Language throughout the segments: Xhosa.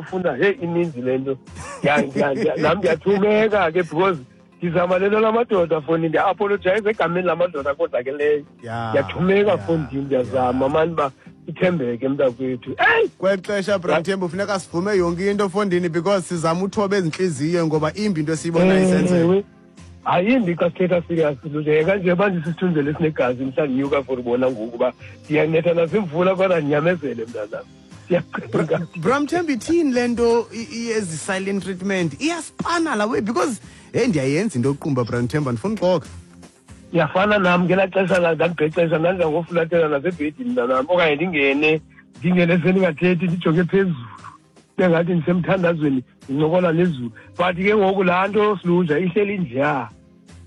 Bafuna, hey, ininzi le nto. Nam ndiyathumeka ke because ndizama le nto lamadoda, fondini. Ndiya-apologize egameni lamadoda akonzakeleyo. Ndiyathumeka, fondini, ndiyazama mani uba ithembeke, mntakwethu. Eyi! Kweli xesha, Bramthembu, funeka sivume yonke into, fondini, because sizama uthoba ezintliziyo ngoba imbi into esiyibonayo isenzeka. Ewe. Ayimbi xa sithetha serious nje kanje manje, sisithunzele esinegazi mhla ndinyuka for ubona ngoku uba ndiyanetha nazimvula, kodwa ndinyamezele, mntanam. Ndiyacinga. Bramthembu, ithini le nto ezi silent treatment iyasipana la way? Because heyi, ndiyayenza into yoqumba, Bramthembu, andifuni uxoka. Ndiyafana nam ngelaa xesha la ndandibhexesha, ndandizangofulathela nasebhedini, mntanam, okanye ndingene sendingathethi, ndijonge phezulu bengathi ndisemthandazweni, ndincokola nezulu. But ke ngoku laa nto silunja ihleli njeya,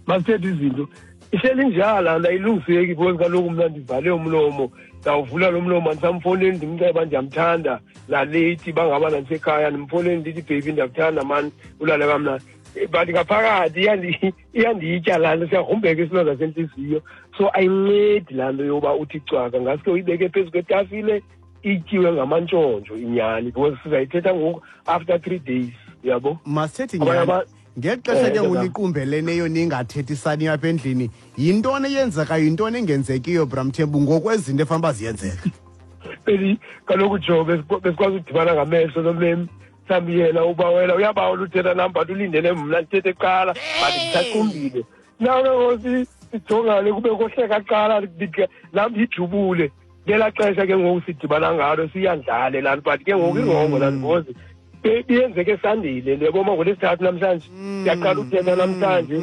masithethe izinto, ihleli njeya laa nto, ayilungiseki because kaloku mna ndivale umlomo, ndawuvula lo mlomo, andisamfowuneli ndimceba ndiyamthanda naleyithi bangaba nandisekhaya, ndimfowuneli ndithi, "Baby, ndiyakuthanda mani, ulale kamnandi." But ngaphakathi iyanditya laa nto, siyagrumbeka isilonda sentliziyo. So ayincedi laa nto yoba uthi cwaka, ngaske uyibeke phezu kwetafile ityiwe ngamantshontsho inyani, because sizayithetha ngoku after 3 days, uyabo. Masithethe Abanye nyani. Ngeli xesha ke Tata. Nguniqumbeleneyo ningathethisani apha endlini, yintoni eyenzekayo, yintoni engenzekiyo, Bramthembu, ngokwezinto efanele uba ziyenzeka? Beli kaloku jo besikwazi udibana ngamehlo nomem, mhlawumbi yena ubawela, uyabawela uthetha nam, but ulindele mna ndithethe kuqala, but ndisaqumbile. Nawe ngoku sijongane, kube kohleka kuqala, nam ndijubule. Ngelaa xesha ke ngoku sidibana ngalo siyandlale laa nto, but ke ngoku i-wrong laa nto because biyenzeke sandile le yaboma ngoLwesithathu namhlanje, siyaqala uthetha namhlanje,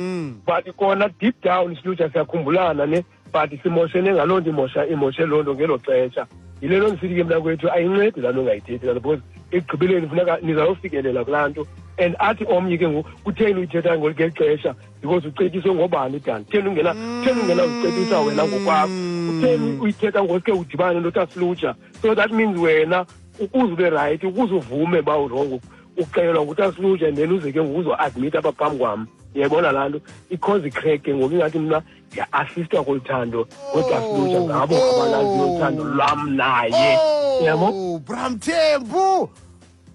but kona deep down silutsha siyakhumbulana ne, but simoshene ngaloo nto, imosha imoshe loo nto ngelo xesha. Yile nto ndisithi ke, mntakwethu, ayincedi laa nto ungayithethi laa nto, because ekugqibeleni funeka nizawufikelela kulaa nto, and athi omnye ke ngoku, "Kutheni uyithetha ngeli xesha?" Because ucetyiswe ngobani dani? Kutheni ungenazicebisa wena ngokwakho? Kutheni uyithetha ngosuke udibane noTasiluja? So that means wena ukuze ube right, ukuze uvume uba u-wrong, uxelelwa nguTasiluja, and then uze ke ngoku uzo-admit apha phambi kwam. Uyayibona laa nto i-cause i-crack ke ngoku, ingathi mna ndiya-assistwa kolu thando ngoTasiluja, ngabo abalaziyo uthando lwam naye, uyabo. Oh, Bramthembu.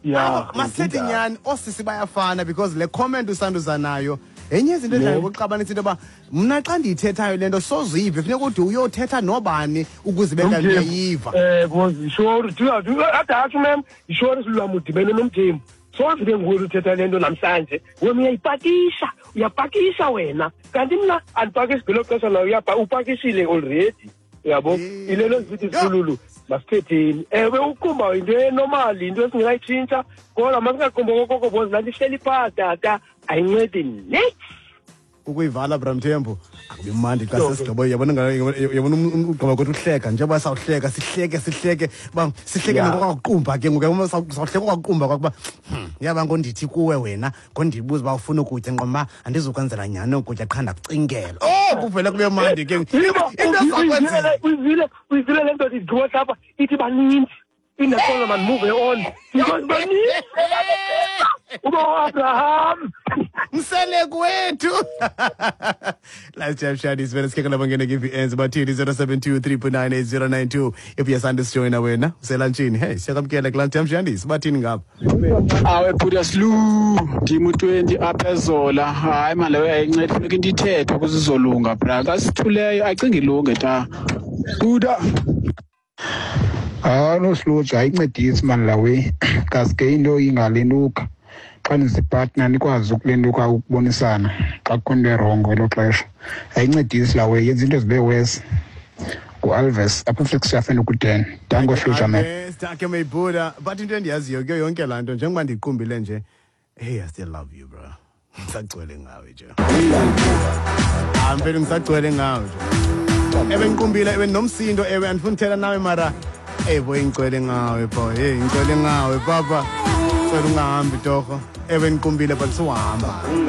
Ya. Masithethe nyani, oosisi bayafana, because le comment usanduza nayo enye izinto edla ngokuxabanisa, into yoba mna xa ndiyithethayo le nto sozive, funeka ude uyothetha nobani ukuze ibe kanti uyayiva. Because sure ade atsho mem, sure silwam udibene noMthembu, soze ke nguwe uthetha le nto namhlanje, wena uyayipakisha, uyapakisha wena, kanti mna andipakishi ngelo xesha, nayo upakishile already, uyabo. Yile nto ndisithi, silulu, masithetheni. Ewe, uqumba yinto e-normal, yinto esingekayitshintsha, kodwa masingaqumbi okokoko because laa nto ihleli phaa, tata, ayincedi niks. Ukuyivala, Bramthembu, akubi mandi xa sesigqibo, yabona yabona ugqiba kwethu uhleka, njengoba sawuhleka, sihleke, sihleke uba sihleke nokwakuqumba ke ngoku, yabona, sawuhleka okwakuqumba kwakuba yaba ngondithi kuwe wena ngondibuza uba ufuna ukutya, nqoma andizukwenzela nyhani ukutya, qha ndakucingela. Oh, kuvele kube mandi ke into ezakwenzela. Uyivile le nto ndigqiba apha, ithi baninzi indaxola, man, move on because baninzi uba uAbraham. Mseleku wethu. Last Jam Shadi sivele sikhekela bangene ke-VNs bathini 072 398 if uyasanda sijoyina wena uselantshini, hey, siyakwamkela kulaa Jam Shandis, bathini ngapha? Awe bhuti Slu, ndim u-20 apha eZola. Hayi mani, leyo ayincedi, funeka into ithethwe ukuze izolunga, bra. Xa sithuleyo ayicingi ilunge ta buda. Hayi nosilutsha, ayincedisi mani la way, ngaske into ingalentuka xa nizi-partner nikwazi ukulentuka, ukubonisana xa kukho into e-wrong elo xesha. Ayincedisi la way, yenza into zibe worse. Ngu-Alves apha eFlagstaff enokuden. Danko Hlutsha man. Danke Maybuda, but into endiyaziyo kuyo yonke laa nto, njengoba ndiqumbile nje, hey, I still love you, bro, ngisagcwele ngawe nje. Ah, mfethu, ngisagcwele ngawe nje. Ewe, ngiqumbile, ewe, nomsindo, ewe, andifuni uthetha nawe, mara hey boy, ngigcwele ngawe boy, hey, ngigcwele ngawe papa, cela ungahambi torho. Ewe, ngiqumbile, but suhamba.